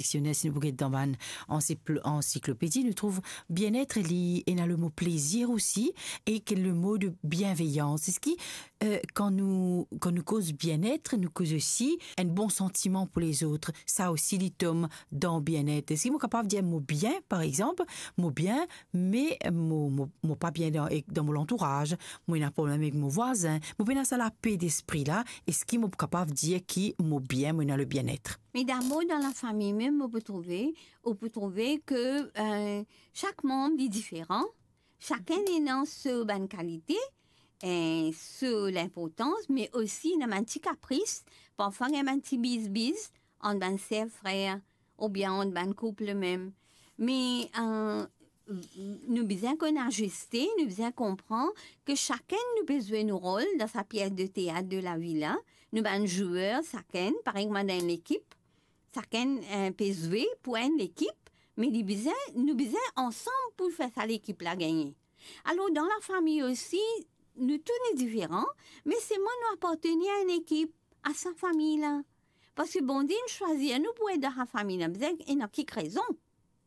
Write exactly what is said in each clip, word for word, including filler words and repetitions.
diksioner, si nou pou get dan bann ansiklo-, ansiklopedi, nou trouv bienet, li ena lemo plezir osi, ek lemo de bienveyans. Eski, eh, kan nou, kan nou koz bienet, nou koz osi enn bon santiman pou lezot? Sa osi, li tom dan bienet. Eski mo kapav dir mo bien, par exanp, mo bien, me mo, mo, mo pa bien dan, ek dan mo lantouraz, mo ena problem ek mo vwazin, mo pena sa lape despri la, eski mo kapav dir ki mo bien, mo ena le bienet? Me dabor, dan lafami mem, ou pou trouve, ou pou trouve ke, eh, sak manb, li diferan, sakenn ena so bann kalite, eh, so linportans, me osi ena bann ti kapris, parfwa ena bann ti bizbiz ant bann ser, frer, oubien ant bann koup mem. Me, eh, nou bizin konn aziste, nou bizin konpran ke sakenn nou pe zwe nou rol dan sa pies de teat de lavi la. Nou bann zwer, sakenn, parey kouma dan enn lekip, sakenn, eh, pe zwe pou enn lekip, me li bizin, nou bizin ansam pou fer sa lekip la gagne. Alor, dan lafami osi, nou tou nou diferan, me selman nou apartenir a enn ekip, a sa fami la. Parski Bondie inn swazir nou pou et dan sa fami la, bizin ena kik rezon.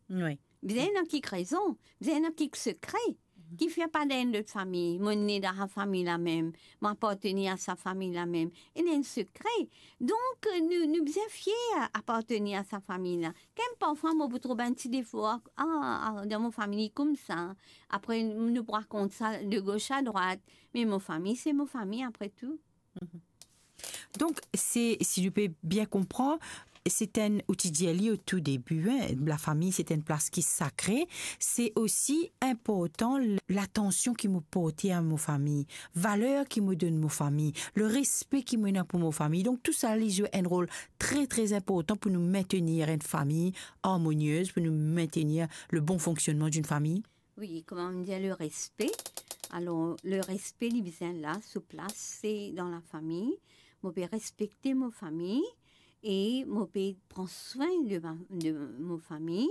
Wi. Bizin ena kik rezon, bizin ena kik sekre. Ki fer pa dan enn lot fami, mo ne dan sa fami la mem, mo apartenir a sa fami la mem. Ena enn sekre. Donk, nou, nou bizin fier apartenir a sa fami la. Kem parfwa mo pou trouv bann ti defo, a, a, dan mo fami li koumsa. Apre, nou pou rakont sa de gos a drwat. Me mo fami, se mo fami apre tou. Mhm. Donk, se, si nou pe bien konpran, se enn, ou ti dir li o tou debi, en, lafami, se enn plas ki sakre. Se osi inportan l-, latansion ki mo porte a mo fami, valer ki mo donn mo fami, le respe ki mo ena pou mo fami. Donk, tou sa, li zwe enn rol tre, tre inportan pou nou mentenir enn fami armoniez, pou nou mentenir le bon fonksionnman d'une famille. Wi, kouma nou dir, le respe. Alor, le respe, li bizin la, so plas, se dan lafami. Mo pe respekte mo fami e mo pe pran swin de ma, de mo fami.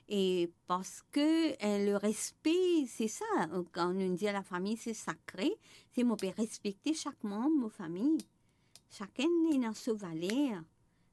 E parski, eh, le respe, se sa, kan nou dir lafami, se sakre, se mo pe respekte sak manb mo fami. Sakenn ena so valer.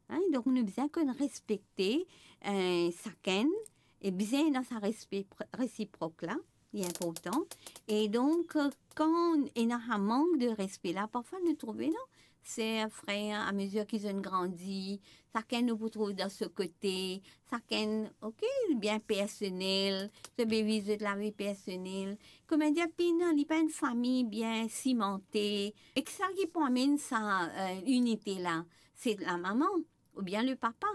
Hein, donk nou bizin konn respekte, eh, sakenn, e bizin ena sa respe pr-, resiprok la, li inportan. E donk, eh, kan ena sa mank de respe la, parfwa nou trouve, non? Ser, frer, amezir ki zot inn grandi, sakenn nou pou trouv dan so kote, sakenn, ok, bien personel, zot pe viv zot lavi personel. Kouma dir, pena, li pa enn fami bien simante. E ki sa ki pou amenn sa, eh, inite la? Se lamama, oubien le papa,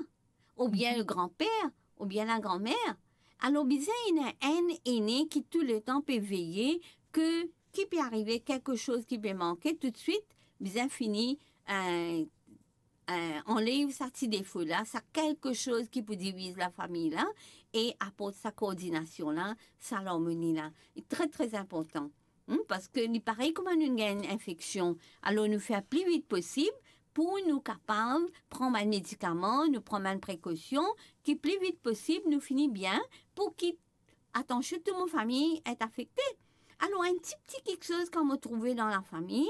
oubien le granper, oubien lagranmer. Alor, bizin ena enn ene ki touletan pe veye ke ki pe arive, kelke soz ki pe manke, toutswit, bizin fini, eh, eh, anlev sa ti defo la, sa kelke soz ki pou diviz lafami la, e aport sa koordinasion la, sa larmoni la. Li tre, tre inportan. Hmm, parski li parey kouma nou gagn infeksion. Alor, nou fer pli vit posib pou nou kapav pran bann medikaman, nou pran bann prekosion, ki pli vit posib nou fini bien, pou ki atansion tou mo fami et afekte. Alor, enn ti, ti kiksoz kan mo trouve dan lafami,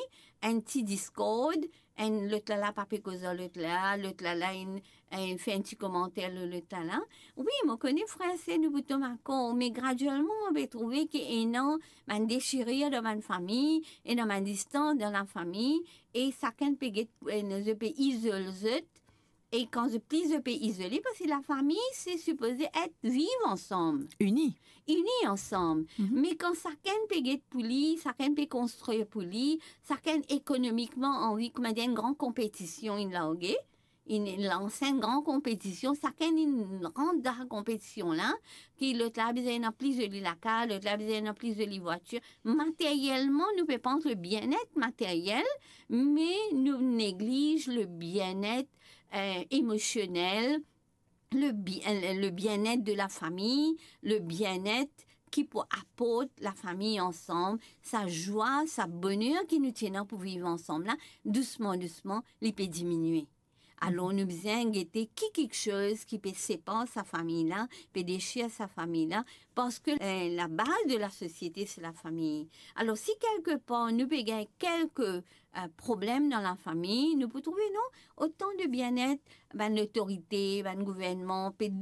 enn ti diskord, enn lot la la pa pe koz ar lot la, lot la la inn, eh, fer enn ti komanter lor lot la la. Wi, mo kone frer ser nou pou tom akor, me gradielman mo pe trouve ki ena bann desirir dan bann fami, ena bann distans dan lafami, e sakenn pe get, eh, zot pe izol zot, e kan zot pli zot pe izole, parski lafami se sipoze et viv ansam. Ini. Ini ansam. Mhm. Me kan sakenn pe get pou li, sakenn pe konstrir pou li, sakenn ekonomikman anvi, kouma dir, enn gran konpetision inn large, inn lans enn gran konpetision, sakenn inn rant dan konpetision la, ki lot la bizin ena pli zoli lakaz, lot la bizin ena pli zoli vwatir. Materielman, nou pe pans le bienet materiel, me nou negliz le bienet, eh, emosionel, le bi-, eh, le bienet de lafami, le bienet ki pou aport lafami ansam, sa zwa, sa boner ki nou ti ena pou viv ansam la, dousman, dousman, li pe diminie. Alor, nou bizin gete ki kiksoz ki pe separ sa fami la, pe desir sa fami la, parski, eh, la baz de la sosiete, se la fami. Alor, si kelke par nou pe gagn kelke, eh, problem dan la fami, nou pou trouve, non, otan de bienet, bann lotorite, bann gouvernman pe